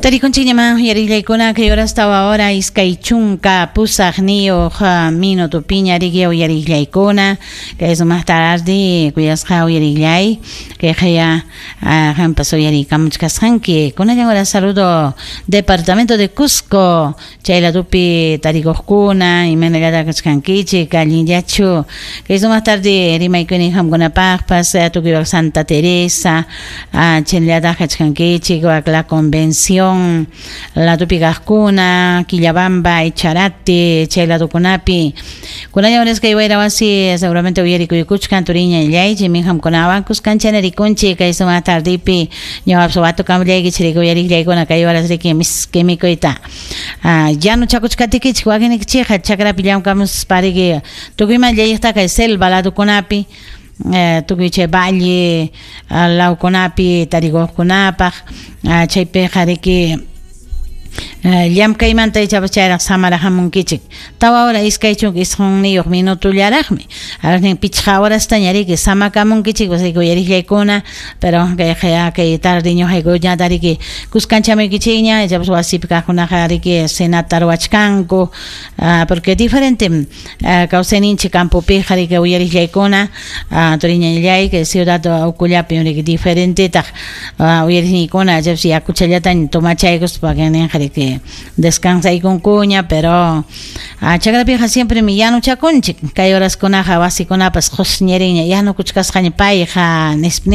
Tarikunchikñaman uyariqllaykuna kay horas 4 28 minutopiña riki uyariqllaykuna kay sumaq tarde kuyasqa uyariqllay kay qaya qampas uyariykamuchkasqanki kunallan hora saludo departamento de Cusco chay ladopi tarikuqkuna imaynallataq kachkankichik allinllachu kay sumaq tarde rimaykuni qamkunapaqpas tukuy Santa Teresa chayllataq kachkankichik wak la Convención ladopi kaqkuna Quillabamba Echarate chay ladokunapi kunallan horas kay wayra wasi seguramente uyarikuykuchkan turiñallay chaymi qamkunawan kuskanchana rikunchik kay sumaq tardepi ñuqapas watukamullaykichik uyariqllaykuna kay horas riki miski mikuyta yanuchakuchkatikichik wakinnikichikqa chakrapi llamkamuspa riki tukuyman llayqta kay selva ladokunapi tukuy chay valle lawkunapi tarikuqkunapaq chaypiqa riki llamkaymanta ichapas chayraq samaraqamunkichik 4 hora 29 minutollaraqmi arnin 5 horastaña riki samakamunkichik pues riki uyariqllaykuna pero kay kay tarde ñuqaykuñata riki kuskanchamuykichikña ichapas wasipi kaqkunaqa riki cenata ruwachkanku porque diferente kawsayninchik campopiqa riki uyariqllaykuna turiñallay kay ciudad ukullapi riki diferentetaq uyariqniykuna ichapas yakuchallataña tomachaykuspa ninqa riki descansaykunkuña pero chakrapiqa siempre mi yanuchakunchik kay horaskunaqa wasikunapas qusñiriña yanukuchkasqaña payqa nispa.